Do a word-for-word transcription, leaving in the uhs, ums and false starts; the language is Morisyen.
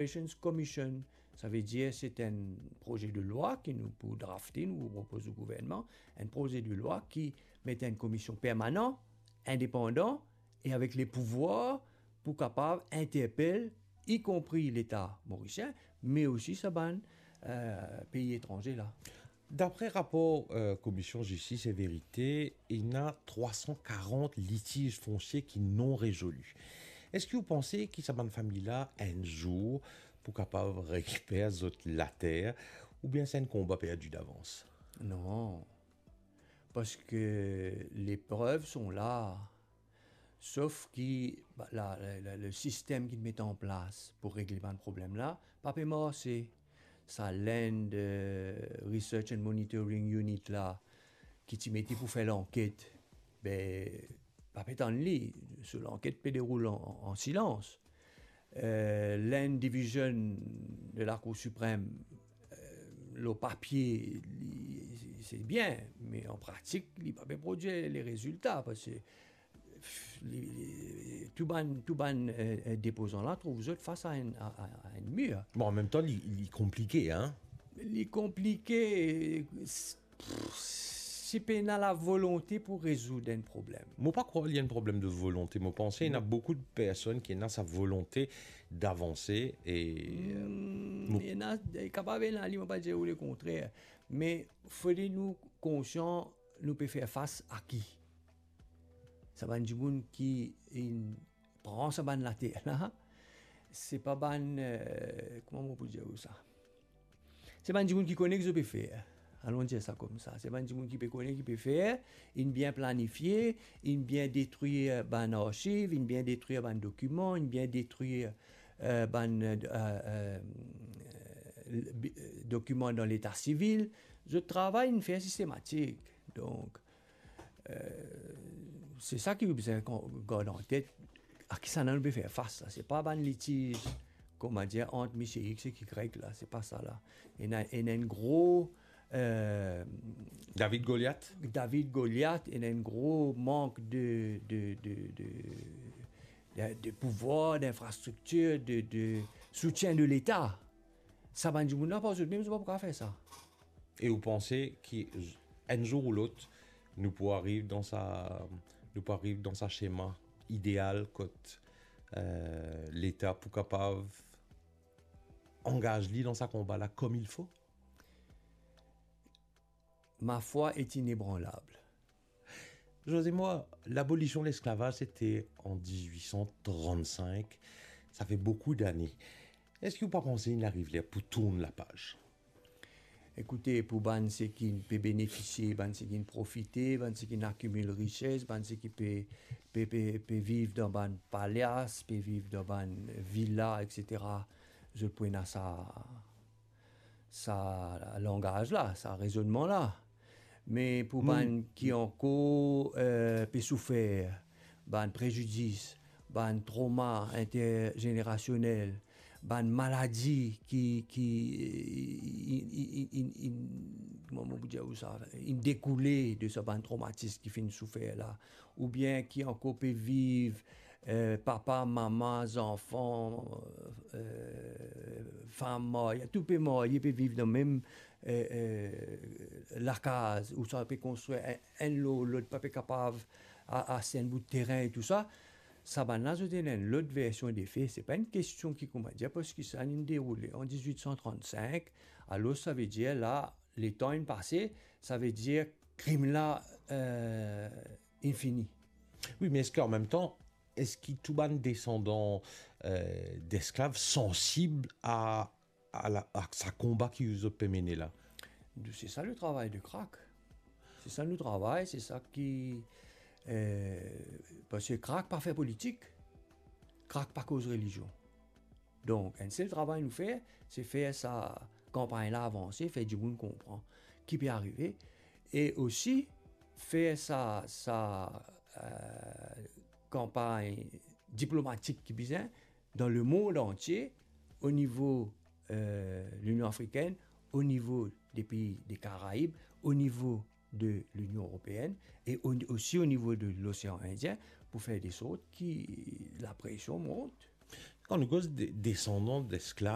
Reparations Commission. Savedir, se enn proze de lwa ki nou pou drafte, nou pou propoz o gouvernman, enn proze de lwa ki met enn komision permanan, indepandan e avek le pouvwar pou kapav interpel, ikonpri Leta morisien, me osi sa bann, eh, pei etranze la. Dapre rapor, eh, Komision Zistis e Verite, ena trwa san karant litiz fonsie ki non rezoli. Eski ou panse ki sa bann fami la, enn zour, pou kapav rekiper zot later, oubien se enn konba perdi davans? Non. Parski le prev son la. Sof ki, ba, la, la, la, le sistem ki met an plas pou regle bann problem la, pa pe marse. Sa Land, eh, Research and Monitoring Unit la, ki ti mete pou fer lanket, be, pa pe tann li. So lanket pe deroul an, an, an silans. Eh, Land Division de la Cour Suprême, eh, lor papie, li, se bien, me an pratik, li pa pe prodwir le rezilta, parski, pff, li, li, tou bann, tou bann, eh, eh, depozan la trouv zot fas a enn, a, a, a enn mir. Bon, an mem tan, li, li konplike, hein? Li konplike, s-, pff, si pena lavolonte pou rezoud enn problem. Mo pa krwar li enn problem de volonte. Mo panse ena boukou de personn ki ena sa volonte davanse e, eh, Hmm, mo ena, kapav ena li, mo pa dir ou lekontrer. Me fode nou konsian, nou pe fer fas a ki? Sa bann dimoun ki inn pran sa bann later la, se pa bann, eh, kouma mo pou dir ou sa? Se bann dimoun ki kone ki zot pe fer. Alon dir sa koumsa. Se bann dimoun ki pe kone ki pe fer, inn bien planifie, inn bien detrir bann arsiv, inn bien detrir bann dokiman, inn bien detrir, eh, bann, eh, eh, eh, bi-, dokiman dan leta sivil. Zot travay inn fer sistematik. Donk, eh, se sa ki ou bizin kon-, gard an tet, a kisannla nou pe fer fas la. Se pa bann litiz, kouma dir, ant misie X ek Y la, se pa sa la. Ena, ena enn gro, eh, David Goliath? David Goliath, ena enn gro mank de, de, de, de, de, de pouvwar, d'infrastriktir, de, de soutien de Leta. Sa bann dimoun la, par zot mem, zot pa pou kapav fer sa. E ou panse ki z-, enn zour ou lot, nou pou ariv dan sa, nou pou ariv dan sa sema ideal kot, eh, Leta pou kapav angaz li dan sa konba la comme il faut? Ma foi est inébranlable. José Moy, l'abolition de l'esclavage, c'était en dix-huit cent trente-cinq. Ça fait beaucoup d'années. Eski ou pa panse inn ariv ler pou tourn lapaz? Ekoute, pou bann seki pe benefisie, bann seki profite, bann seki akimil rises, bann seki pe, pe, pe, pe viv dan bann palas, pe viv dan bann vila, et cetera, zot pou ena sa, sa langaz la, sa rezonnman la. Me pou bann ki ankor, eh, pe soufer, bann prezidis, bann troma interzenerasionel, bann maladi ki, ki, eh, in, in, in, in, kouma mo pou dir ou sa, inn dekoule de sa bann tromatis ki finn soufer la, oubien ki ankor pe viv, eh, papa, mama, zanfan, eh, fam marye, tou pe marye, pe viv dan mem, eh, eh, lakaz, ouswa pe konstrir enn, enn lor lot, pa pe kapav a-, aste enn bout terin e tou sa. Sa bann la, zot ena enn lot version de fe. Se pa enn kestion ki, kouma dir, parski sa inn deroule an dix-huit cent trente-cinq, alor savedir la, letan inn pase, savedir krim la, eh, inn fini. Wi, me eski an mem tan, eski tou bann desandan, eh, desklav sansib a, a la, a sa konba ki zot pe mene la? Se sa le travay de krak. Se sa nou travay, se sa ki, eh, parski krak pa fer politik, krak pa koz relizion. Donk, enn sel travay nou fer, se fer sa kanpagn la avanse, fer dimoun konpran ki pe arive, e osi fer sa, sa, eh, kanpagn diplomatik ki bizin dan lemond antie, o nivo, eh, Linion Afrikenn, o nivo de pei de Karaib, o nivo de Linion Eropeenn e o-, osi o nivo de Losean Indien pou fer de sort ki lapresion mont. Kan nou koz de, desandan desklav,